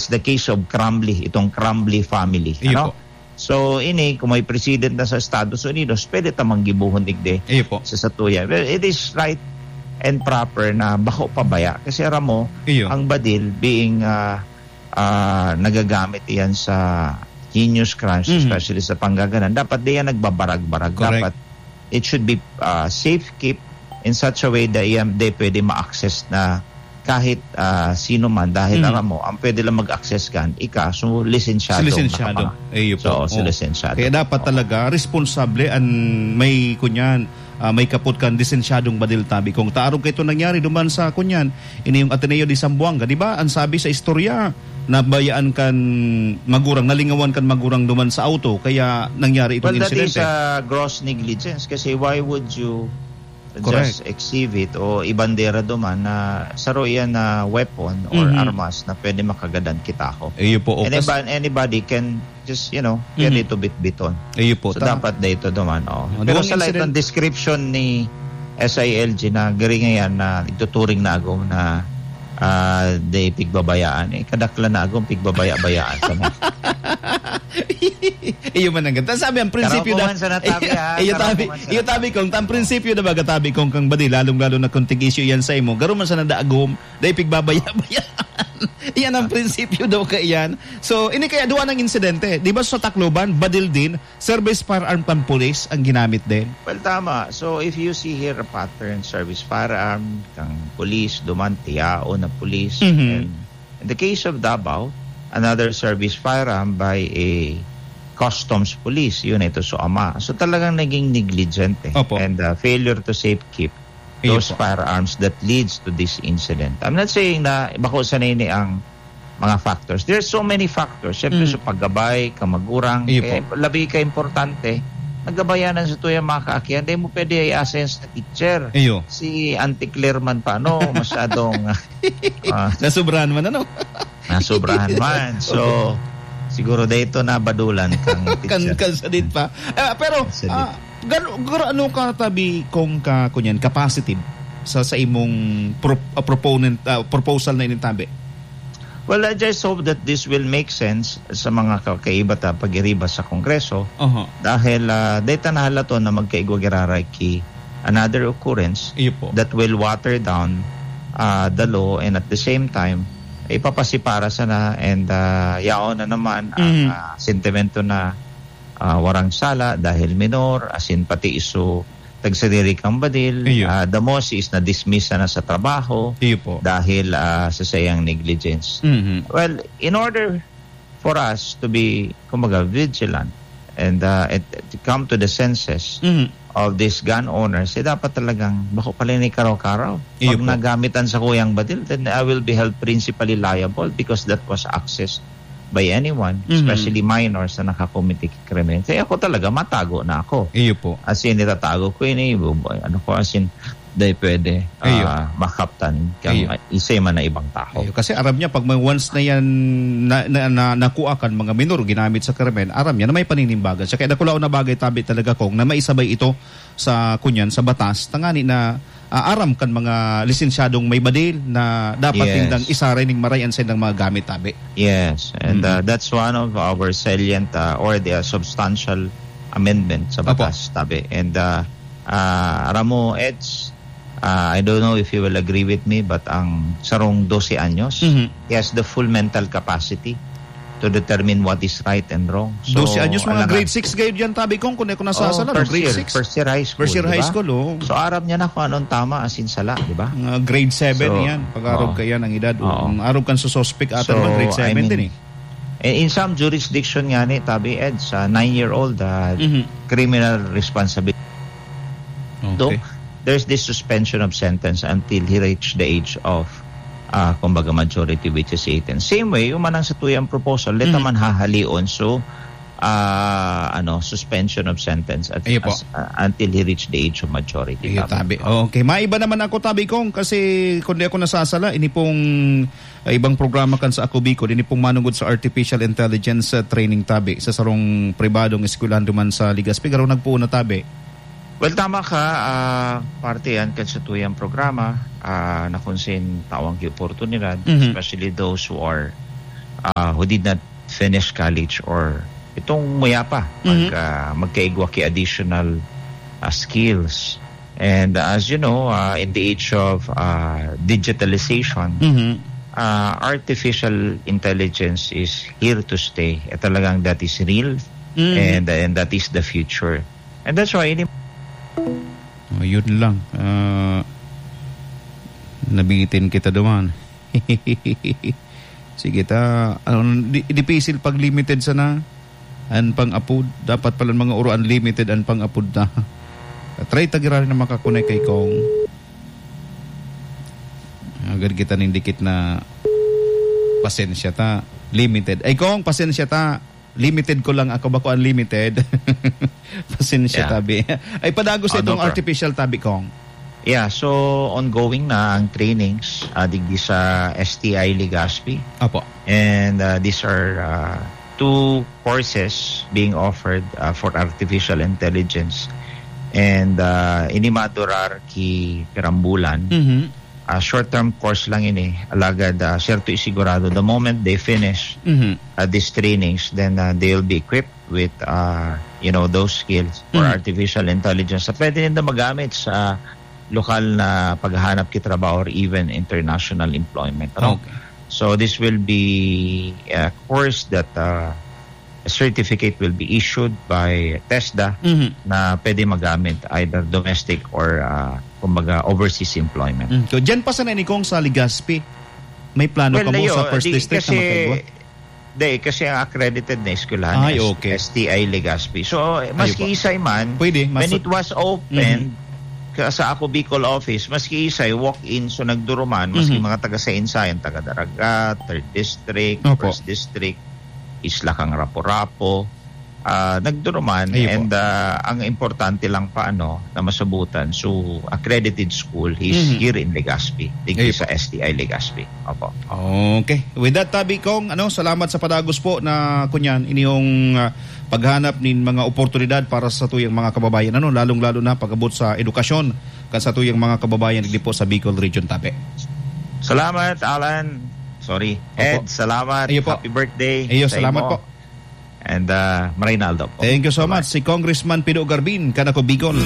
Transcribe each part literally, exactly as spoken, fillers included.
the case of Crumbley, itong Crumbley family. Iyo Ano? po. So, ini, kung may president na sa Estados Unidos, pwede ta manggibuhon digdi Iyo po. sa satuya. Well, it is right and proper na bako pabaya. Kasi aram mo, Iyo. ang badil being ah, ah, nagagamit iyan sa heinous crimes, Mhm. especially sa panggaganan, dapat di yan nagbabarag-barag. Correct. Dapat it should be ah, safe keep in such a way that iyan di pwede ma-access na kahit ah, sino man, dahil Mhm. alam mo, ang pwede lang mag-access kan, ika, so lisensyado. Si lisensyado. Nakapang- Iyo po. So, si Oo. lisensyado. Kaya dapat Oo. talaga responsable ang may kunyan, ah, may kapot kan lisensyadong badil, tabi kong taarog kay ito nangyari duman sa kunyan, ini yung Ateneo de Zamboanga, di ba? Ang sabi sa istorya, nabayaan kan magurang, nalingawan kan magurang duman sa auto, kaya nangyari itong Well, that is insidente. a gross negligence kasi why would you Correct. just exhibit o ibandera duman na saro iyan na weapon or Mhm. armas na pwede makagadan kita ko? Iyo po, o, And kas- anybody, anybody can just, you know, pwede Mhm. ito bitbiton. Iyo po, So, ta- dapat dito duman, oh. Oh, Pero duwang sa light incident- ng description ni S I L G na gari ngayon na ituturing na agom na ah, di pigbabayaan eh. Kadaklan na agom, pigbabaya-bayaan sa mga Iyo man ang ganda. Sabi, ang prinsipyo Karaw ko na man sa natabi, ha? Iyo Karaw tabi, ko man sa iyo tabi natabi. kong, ang prinsipyo na baga tabi kong kang badi, lalong-lalo na kung tig-issue yan sa imo. Garo man sa nadaagom, dahil pigbabaya-bayaan. Yan ang prinsipyo daw kaya yan. So, ini kaya duwa ng insidente. Di ba sa Tacloban, badil din, service firearm pang pulis ang ginamit din? Well, tama. So, if you see here a pattern, service firearm, kang pulis, duman, tiyao na pulis, Mhm. and in the case of Davao, another service firearm by a customs police, yun ito so ama. So, talagang naging negligent eh. Opo. And uh, failure to safekeep Iyo those po. firearms that leads to this incident. I'm not saying na bako sanay ni ang mga factors. There's so many factors. Siyempre, Mm. sa paggabay, kamagurang, Iyo kaya po. imp-, labi ka importante, nagabayanan sa tuyang mga kaakihan, dahil mo pwede i-assign sa teacher. Iyo. Si Auntie Claire man pa, ano, masyadong, ah, Nasobrahan man, ano? nasobrahan man. So, Opo. siguro dahil ito nabadulan kang Kan, teacher. kan sadit pa. Ah, pero, Kan sadit. ah, gano, gano, ano ka tabi kung ka, kunyan, capacitive sa, sa imong pro-, ah, proponent, ah, proposal na inintabi? Well, I just hope that this will make sense sa mga ka-, kaiba ta pag-iriba sa Kongreso. Aha. Dahil, ah, data na halaton na magkaigwa giraray ki another occurrence Iyo po. that will water down, ah, the law, and at the same time, ipapasipara sana and, ah, yaon na naman ang, Mhm. ah, sentimento na, ah, warang sala dahil minor, asin pati iso tagsadiri kang badil, Iyo. ah, the most is na-dismiss na sa trabaho Iyo po. dahil, ah, sa sayang negligence. Mhm. Well, in order for us to be, kumbaga, vigilant and, ah, and to come to the senses Mhm. of these gun owners, eh, dapat talagang bako pala ni karaw-karaw. Iyo Pag po. nagamit ang sakuyang badil, then I will be held principally liable because that was accessed by anyone, Mhm. especially minors na nakakomiti krimen. Kaya ako talaga, matago na ako. Iyo po. As in, itatago ko ini, bu-, bu-, ano ko, as in, dahil pwede, Iyo. ah, makaptan kang Iyo. isa man na ibang tao. Iyo, kasi aram niya, pag may once na yan na, na, na, nakuha kan mga minor, ginamit sa krimen, aram niya na may paninimbagan siya. Kaya dakulaon na bagay tabi talaga kong na maisabay ito sa, kunyan, sa batas, tangani na, ah, aram kan mga lisensyadong may badil na dapat Yes. nindang isaray ning maray an saindang mga gamit tabi. Yes, and, Mm. uh, that's one of our salient, uh, or the substantial amendment sa Opo. batas, tabi. And, uh, uh, aram mo, Eds, uh, I don't know if you will agree with me, but ang sarong dose anyos, Mhm. he has the full mental capacity to determine what is right and wrong. So, Dose anyos, mga alangan grade six gayod yan, tabi kong, kung ako nasasala, Oh, no? first Grade year, six? first year high school, First year di high ba? school, oh. So, aram niya na kung anong tama, asin sala, di ba? Mga grade seven So, yan. Pag-arog oh. ka yan, ang edad. Oo. Ang arog kan sa suspect ata So, naman, grade I seven mean, din eh. in, in some jurisdiction nga ni, tabi, Ed, sa nine-year-old, ah, Mhm. criminal responsibility. Okay. Though, there's this suspension of sentence until he reached the age of, ah, kumbaga, majority, which is eighteen. Same way, yung manang sa tuyang proposal, let Mhm. man hahalion. So, ah, ano, suspension of sentence at, Iyo po. as, ah, until he reached the age of majority. Iyo, Tabi. tabi. Okay, maiba naman ako, tabi kong, kasi kung di ako nasasala, ini pong, ah, ibang programa kan sa Ako Bicol, ini pong manungod sa artificial intelligence, ah, training, tabi, sa sarong pribadong eskwelahan duman sa Legazpi. Garo nagpuon na, tabi. Well, tama ka, ah, parte yan kan sa tuyang programa, ah, na kung sin tawang ki oportunidad, Mhm. especially those who are, who did not finish college or itong muya pa, mag, Mhm. ah, magkaigwa ki additional, ah, skills. And, ah, as you know, ah, in the age of, ah, digitalization, Mhm. ah, artificial intelligence is here to stay. Eh, talagang that is real Mhm. and, and that is the future. And that's why ini- Oh, yun lang. Ah, nabitin kita duman. Sige ta, ano, di, dipisil pag limited sana an pang-apod. Dapat pala mga uro unlimited an pang-apod ta. Try ta giraray na makakonek kay Kong. Agad kita ning dikit na pasensya ta. Limited. Ay, Kong, pasensya ta. Limited ko lang ako, bako unlimited. Pasensya, Yeah. tabi. Ay, padagos Ah, no itong problem. artificial tabi, Kong. Yeah, so ongoing na ang trainings, ah, digdi sa S T I Legazpi. Apo. And, ah, these are, ah, two courses being offered, ah, for artificial intelligence. And, ah, ini madurar ki pirambulan. Mhm. Ah, short-term course lang ini. Alagad, ah, serto isigurado, the moment they finish, Mhm. ah, these trainings, then, ah, they'll be equipped with, ah, you know, those skills for Mhm. artificial intelligence na pwede ninda magamit sa lokal na paghahanap ki trabaho or even international employment, ano? Okay. So, this will be a course that, ah, a certificate will be issued by TESDA Mhm. na pwede magamit either domestic or, ah, kumbaga, overseas employment. Mm. So, dyan pa sana ni Kong sa Legazpi. May plano Well, ka mo ayo, sa first di, district na kasi, magkaigwa? di, kasi ang accredited na eskwelahan Ay, is okay. S T I Legazpi. So, Ayo maski po. isay man, Pwede, mas when it was open, Mhm. ka-, sa Ako Bicol office, maski isay walk-in, so nagduruman, maski Mhm. mga taga Sainsayan, taga Daragat, third district, Opo. first district, Isla Kang Rapu-Rapu, ah, nagduruman, Ayun po. and, ah, ang importante lang pa, ano, na masabutan, so, accredited school is Mhm. here in Legazpi, digdi Ayun sa po. S T I Legazpi. Opo. Okay. With that, tabi kong, ano, salamat sa padagos po na, kunyan, inyong, ah, paghanap nin mga oportunidad para sa tuyang mga kababayan, ano, lalong-lalo na pag-abot sa edukasyon kan sa tuyang mga kababayan, digdi po sa Bicol Region, tabi. Salamat, Alan. Sorry. Opo. Ed, salamat. Ayun po. Happy birthday Ayun, sa salamat imo. po. And, ah, Marinaldo po. Thank you so Bye-bye. much. Si Congressman Pido Garbin, kan Ako Bicol.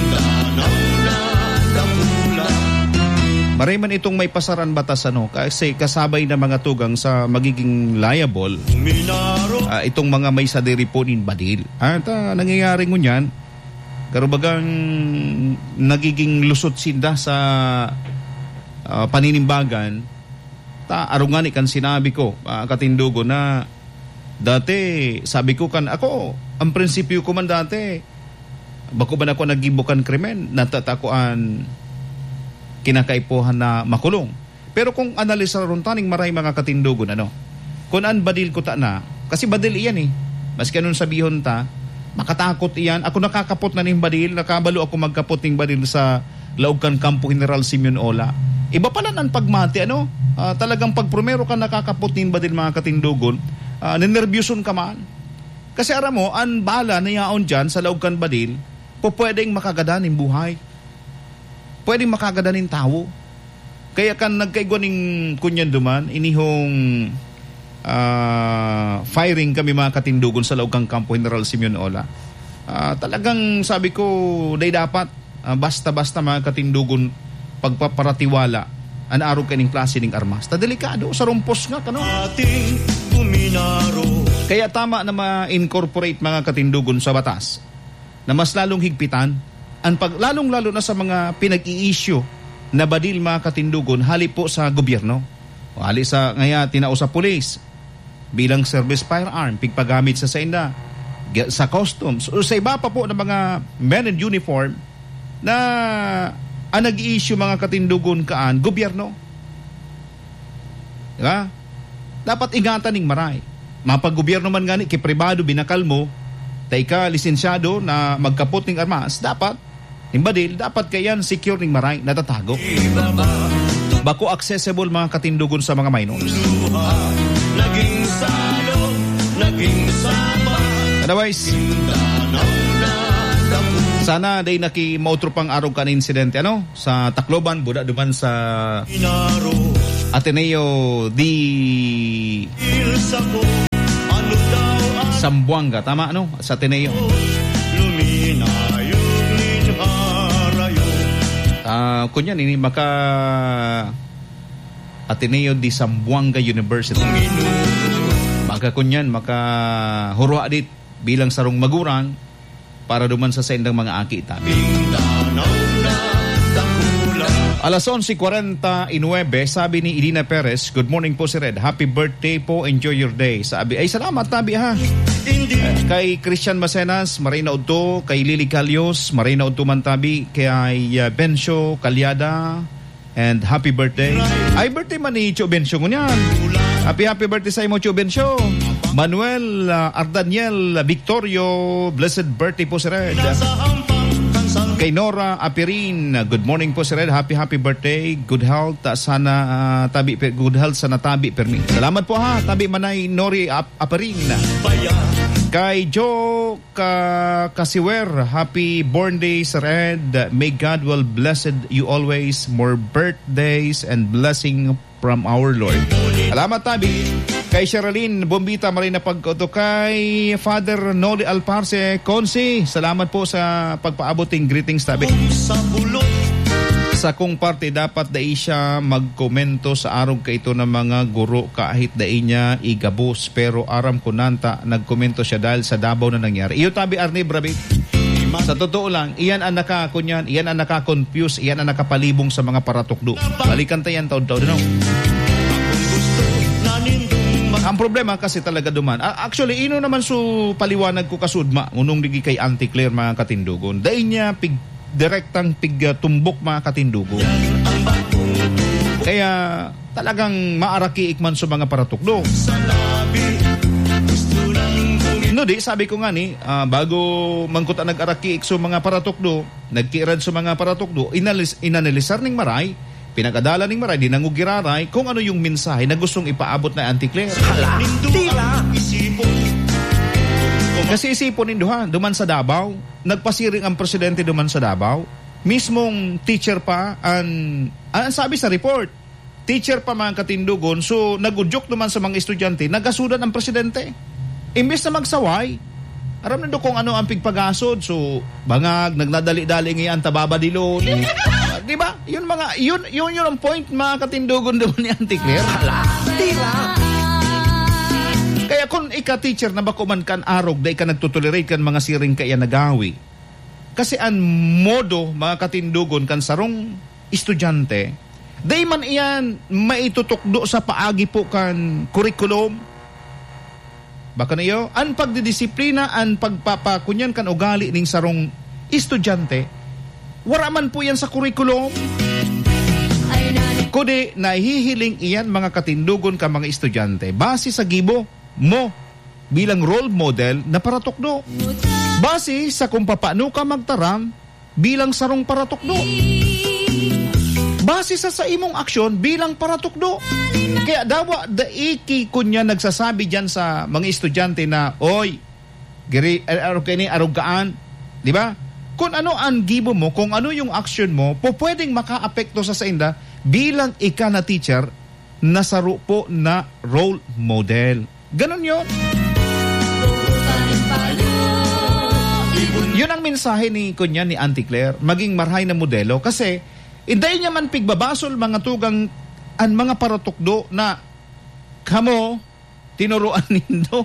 Maray man itong may pasaran batas, ano, kasi kasabay na mga tugang sa magiging liable, ah, itong mga may sadiri po nin badil. At, ah, nangyayari ngunyan, karubagang nagiging lusot sinda sa, ah, paninimbagan. Ta, arog ngani kan sinabi ko, ah, katindogon na dati, sabi ko kan, ako, ang prinsipyo ko man dati, bako man ako naggibo kan krimen, natatakoan kinakaipuhan na makulong. Pero kung analisaron ta ning maray, mga katindogon, ano, kun an badil ko ta na, kasi badil iyan eh. Maski anong sabihon ta, makatakot iyan. Ako nakakapot na ning badil, nakabalo ako magkapot ning badil sa laog kan Kampo General Simeon Ola. Iba pala nan pagmati, ano? Ah, talagang pag primero ka nakakapot nin badil, mga katindogon, ah, ninerbyoson ka man. Kasi aram mo, an bala na yaon dyan sa laog kan badil, pupwedeng makagadan nin buhay. Pwedeng makagadan nin tawo. Kaya kan nagkaigwa nin kunyan duman, inihong, ah, firing kami, mga katindogon, sa laog kan Kampo General Simeon Ola. Ah, talagang sabi ko, dai dapat, ah, basta-basta, mga katindogon, pagpaparatiwala an arog kaning klase ning armas. Ta delikado, sa rumpos nga, kano? Ating kuminaro. Kaya tama na ma-incorporate, mga katindogon, sa batas na mas lalong higpitan an pag-, lalong-lalo na sa mga pinag-i-issue na badil, mga katindogon, hali po sa gobyerno. O hali sa, ngaya, tinao sa pulis bilang service firearm, pigpagamit sa sainda, ga-, sa customs, o sa iba pa po na mga men in uniform na ang nag-i-issue, mga katindogon, kaan, gobyerno. Di ba? Dapat ingatan ning maray. Mapag-gobyerno man ngani, ki pribado, binakal mo, ta ika lisensyado na magkapot ning armas, dapat, ning badil, dapat kaiyan secure ning maray, natatago. Bako accessible, mga katindogon, sa mga minors. Naging salog, naging saba. Otherwise, sana dai na ki mautro pang arog kan insidente, ano? Sa Tacloban, buda duman sa Ateneo de Zamboanga, tama, no? Sa Ateneo. Luminayog nin harayo. Ah, kunyan, ini maka Ateneo de Zamboanga University. Maka kunyan, maka hurwa dit bilang sarong magurang para duman sa saindang mga aki tabi. Alas onse cuarenta y nueve, sabi ni Idina Perez, "Good morning po, Sir Ed. Happy birthday po. Enjoy your day." Sabi, ay, salamat, tabi, ha. Eh, kay Christian Macenas, maray na udto. Kay Lily Calios, maray na udto man, tabi. Kay, uh, Bencio Calyada, and happy birthday. Ay, birthday man ni Cho Bencio ngunyan. Happy, happy birthday sa imo, Cho Bencio. Manuel, uh, Ardaniel Victorio, blessed birthday po, Sir Ed. Kay Nora Apirin, good morning po, Sir Ed. Happy, happy birthday. Good health, uh, sana, uh, tabi, pe-, good health sana tabi, permi. Salamat po, ha, tabi manay Nori Ap-, Apirin. Kay Joe Ka-, Kasiwer, happy born day, Sir Ed. May God will blessed you always. More birthdays and blessing from our Lord. Salamat, tabi. Kay Sherilyn Bombita, maray na pagkaoto. Kay Father Noli Alparse, Consi, salamat po sa pagpaabot ng greetings, tabi. Sa kong parte, dapat dai siya magkomento sa arog kaito ng mga guro kahit dai niya igabos. Pero aram ko nanta, nagkomento siya dahil sa Davao na nangyari. Iyo, tabi, Arnie Brabi. Sa totoo lang, iyan ang naka-, kunyan, iyan ang naka-confuse, iyan ang nakapalibong sa mga paratukdo. Balikan ta yan taon-taon, no? Ang problema kasi talaga duman. A-, actually, ino naman su paliwanag ko kasudma, ngunong digi kay Auntie Claire, mga katindogon. Dai niya pig-, direktang pig-, ah, tumbok, mga katindogon. Kaya, talagang maarakiik man sa mga paratukdo. No, di, sabi ko nga ni, ah, bago man kuta nag-arakiik sa mga paratukdo, nagkiirad sa mga paratukdo, inalis-, inanalisar ning maray, pinag-adalan ning maray, dinangog giraray kung ano yung mensahe na gustong ipaabot na Auntie Claire. Hala, tila! Kasi isipon nindo, ha, duman sa Davao, nagpasiring ang presidente duman sa Davao, mismong teacher pa an, an sabi sa report, teacher pa, mga katindogon. So, nag-udyok naman sa mga estudyante, nagasudan ang presidente. Imbes na magsaway, aram nindo kung ano ang pigpagasod. So, bangag, nagnadali-dali ngayon, tababadilon. Ah, di ba? Yun mga, yun, yun, yun ang point, mga katindogon doon ni Auntie Claire. Hala, tila. Kaya kung ika teacher na bako man kan arog, dai ka nagtotolerate kan mga siring kaya nagawi. Kasi ang modo, mga katindogon, kan sarong estudyante, dai man iyan maitutukdo sa paagi po kan kurikulum. Baka na iyo, ang pagdidisiplina, ang pagpapakunyan kan ugali ning sarong estudyante, wara man po yan sa kurikulum. Kundi nahihiling iyan, mga katindogon, ka mga estudyante, base sa gibo mo bilang role model na paratukdo. Base sa kung papaano ka magtaram bilang sarong paratukdo. Base sa, sa imong aksyon bilang paratukdo. Kaya dawa dai ki kunya nagsasabi diyan sa mga estudyante na, "Oy, giri, ar-, arog kaini, arog kaan." Di ba? Kung ano ang gibo mo, kung ano yung aksyon mo, po pwedeng makaapekto sa sainda bilang ika na teacher na saro po na role model. Ganon yun. Yun ang mensahe ni, kunya, ni Auntie Claire, maging marhay na modelo. Kasi, inday niya man pigbabasol, mga tugang, ang mga paratukdo na kamo, tinuruan nindo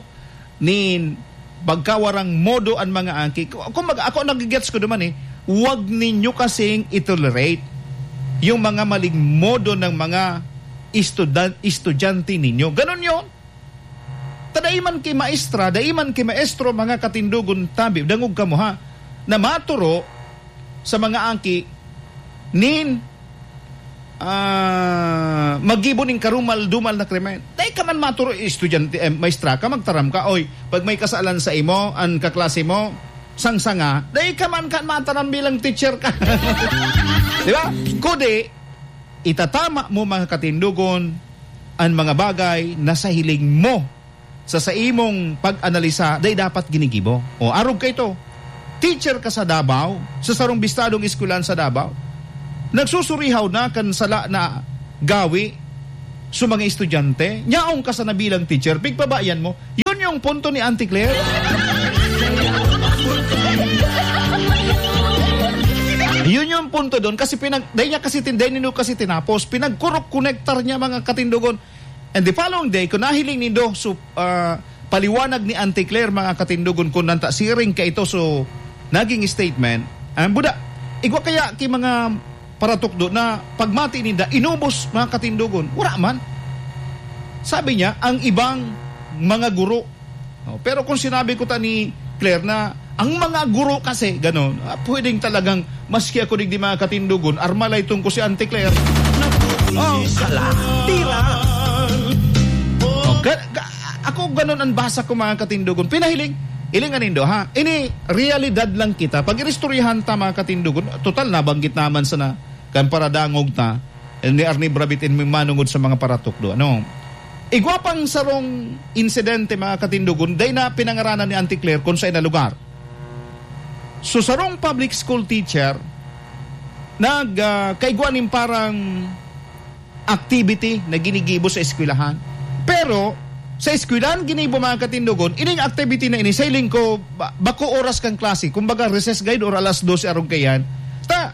nin pagkawarang modo ang mga aki. Ku-, kumbaga, ako nagigets ko naman eh, wag ninyo kasing itolerate yung mga maling modo ng mga estudan-, estudyante ninyo. Ganon yun. Ta dai man ki maestra, dai man ki maestro, mga katindogon tabi, dangog kamo ha, na maturo sa mga aki nin, ah, maggibo nin karumal-dumal na krimen. Dai ka man maturo, estudyante, eh, maestra ka, magtaram ka, "Oy, pag may kasalan sa imo, an kaklase mo, sangsanga," dai ka man kan mataram bilang teacher ka. Di ba? Kudi, itatama mo, mga katindogon, an mga bagay na sa hiling mo, sa saimong pag-analisa, dai dapat ginigibo. O, arog ka ito. Teacher ka sa Davao, sa sarong bistadong eskwelahan sa Davao. Nagsusurihaw na kan sala na gawi sa mga estudyante. Nyaong ka sana bilang teacher, pigpabayan mo. Yun punto ni Auntie Claire? Yun yung punto doon. Kasi pinag-, dahil niya kasi tin-, dahil nino kasi tinapos, pinagkurok-konektar niya, mga katindogon. And the following day, kung nahiling nindo, so, ah, paliwanag ni Auntie Claire, mga katindogon, kung nanta siring ka ito, so, naging statement, ang buda, igwa kaya ki mga paratukdo na pagmati ninda, inubos, mga katindogon, wala man. Sabi niya, ang ibang mga guro. Oh, pero kung sinabi ko ta ni Claire na ang mga guro kasi, ganon, ah, pwedeng talagang maski ako digdi, mga katindogon, armalay tungko si Auntie Claire. Oh, hala, tira. Oh, ga-, ga-, ako ganon ang basa ko, mga katindogon. Pinahiling, hilingan nindo, ha? Ini, realidad lang kita. Pag inistoryahan ta, mga katindogon, total, nabanggit naman sana kan paradangog ta, ni Arnie Brabitin, manungod sa mga paratukdo. Ano? Igwa pang sarong insidente, mga katindogon, dai na pinangaranan ni Auntie Claire kung saan na lugar. So, sarong public school teacher, nag, ah, kaigwa nin parang activity na ginigibo sa eskwelahan. Pero, sa eskwelahan ginibo, mga katindogon, ining activity na ini, sa hiling ko, ba-, bako oras kan klase, kumbaga recess guide or alas dose arog kayan. Ta,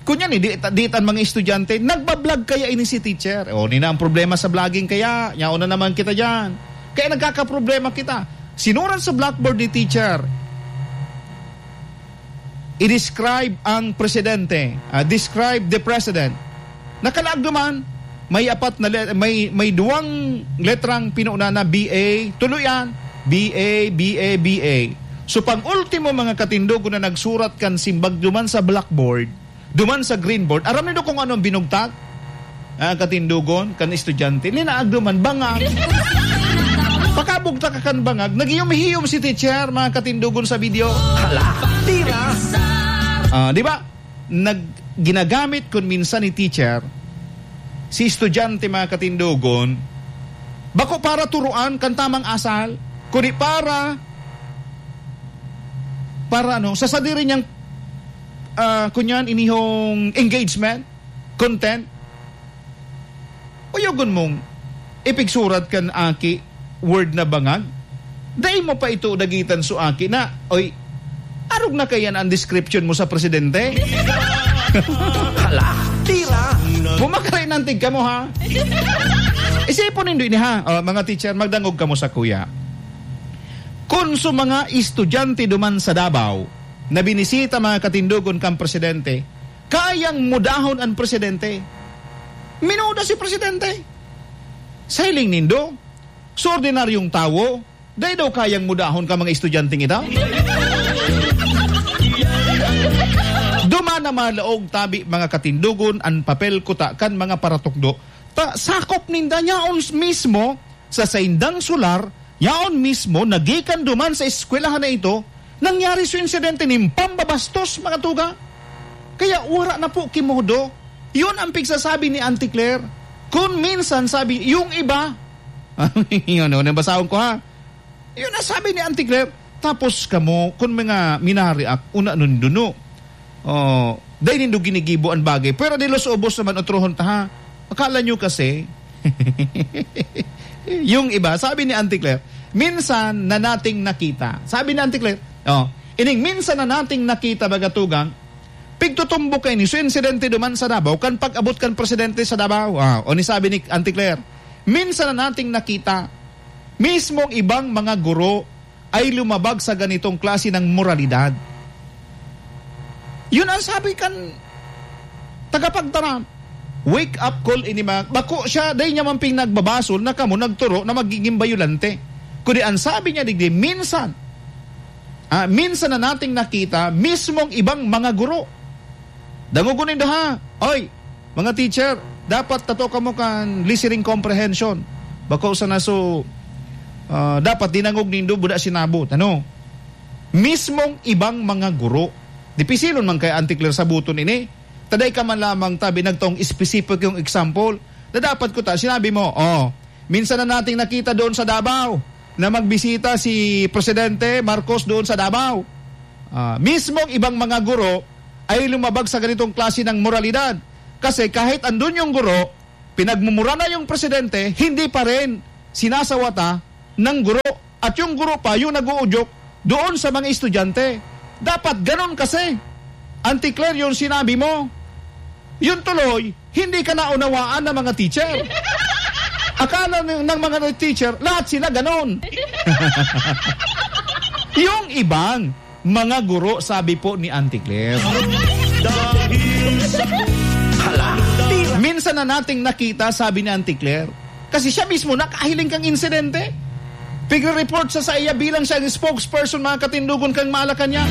kunyan, eh, di, di tan mga estudyante, nagbablog kaya ini si teacher. O, nina ang problema sa vlogging kaya, yaon na naman kita dyan. Kaya nagkakaproblema kita. Sinurat sa blackboard ni teacher, i-describe ang presidente. Ah, describe the president. Nakalaag naman, may apat na le-, may, may duwang letrang pinuuna na B A, tuloy yan, B A, B A, B A. So, pang-ultimo, mga katindogon, na nagsurat kan simbag duman sa blackboard, duman sa green board, aram nindo kung anong binugtak? Ah, katindogon, kan estudyante, linaag duman, bangag. Pakabugtak ka kan bangag, naghiyom-hiyom si teacher, mga katindogon, sa video. Hala, tira! Ah, di ba? Nag-, ginagamit kun minsan ni teacher, si estudyante, mga katindogon, bako para turuan kan tamang asal, kundi para, para ano, sa sadiri niyang, ah, kunyan, inihong engagement, content. Uyogon mong ipigsurat kan aki word na bangag? Dai mo pa ito dagitan so aki na, "Oy, arog na kayan ang description mo sa presidente?" Hala, tira! Bumakay nantig kamo, ha? Isipon nindo ini, ha? O, mga teacher, magdangog kamo sa kuya. Kun so mga estudyante duman sa Davao na binisita, mga katindogon, kan presidente, kayang mudahon an presidente. Minuda si presidente. Sa hiling nindo, sa ordinaryong tawo, dai daw kayang mudahon kan mga estudyanteng ito? Duman na malaog tabi, mga katindogon, an papel kuta kan mga paratukdo. Ta, sakop ninda nyaon mismo sa saindang solar, yaon mismo nagikan duman sa eskwelahan na ito, nangyari so insidente nin pambabastos, mga tugang. Kaya wara na po ki modo. Yun ang pigsasabi ni Auntie Claire. Kun minsan, sabi, yung iba, yun, yun, nabasahon ko, ha? Yun ang sabi ni Auntie Claire. Tapos kamo, kun mga minareact, una nun duno. Oh, dai nindo ginigibo an bagay. Pero dilo sa ubos naman, otrohon ta, ha? Akala nyo kasi, yung iba, sabi ni Auntie Claire, "Minsan na nating nakita." Sabi ni Auntie Claire, oh, "Ining minsan na nating nakita, baga tugang, pigtutumbok kaini." So, insidente duman sa Davao, kan pag-abot kan presidente sa Davao. Ah, o ni sabi ni Auntie Claire, "Minsan na nating nakita, mismong ibang mga guro ay lumabag sa ganitong klase ng moralidad." Yun ang sabi kan tagapagtaram. Wake up call ini, mga, bako siya, dai niya man pinagbabasol na kamo nagturo na magiging bayolante. Kundi ang sabi niya digdi, minsan, ah, minsan na nating nakita mismong ibang mga guro. Dangogon nindo, ha? Oy, mga teacher, dapat tato kamo kan listening comprehension. Bako sana so, ah, dapat dinangog nindo, buda sinabot. Ano? Mismong ibang mga guro. Dipisilon man kaya, Auntie Claire, sabuton ini. Ta dai ka man lamang tabi nagtong specific yung example na dapat ko ta, sinabi mo, "Oh, minsan na nating nakita doon sa Davao na magbisita si Presidente Marcos doon sa Davao." Ah, mismong ibang mga guro ay lumabag sa ganitong klase ng moralidad. Kasi kahit andun yung guro, pinagmumura na yung presidente, hindi pa rin sinasawata ng guro. At yung guro pa, yung nag-uudyok doon sa mga estudyante. Dapat ganon kasi. Auntie Claire, yung sinabi mo, yun tuloy, hindi ka naunawaan ng mga teacher. Akala ng, ng mga teacher, lahat sila ganon. Yung ibang mga guro, sabi po ni Auntie Claire. Hala, tira. Minsan na nating nakita, sabi ni Auntie Claire. Kasi siya mismo nakahiling kang insidente. Pigre-report sa saiya bilang siya ang spokesperson, mga katindogon, kan Malacañang.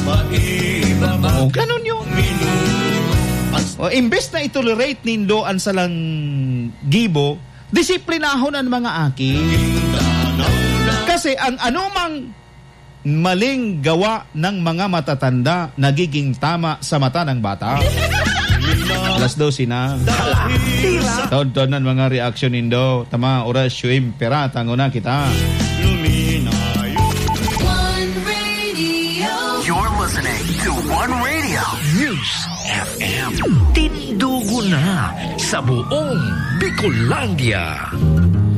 O, ganun yun. O, imbes na itolerate nindo ang salang gibo, disiplinahon ang mga aki. Kasi ang anumang maling gawa ng mga matatanda nagiging tama sa mata ng bata. Alas dose na. Hala, tira. Taon-taon ang mga reaksyon nindo. Tama, oras, siyempre, tango na kita. One Radio. You're listening to One Radio News F M. Tindugo na sa buong Bicolandia.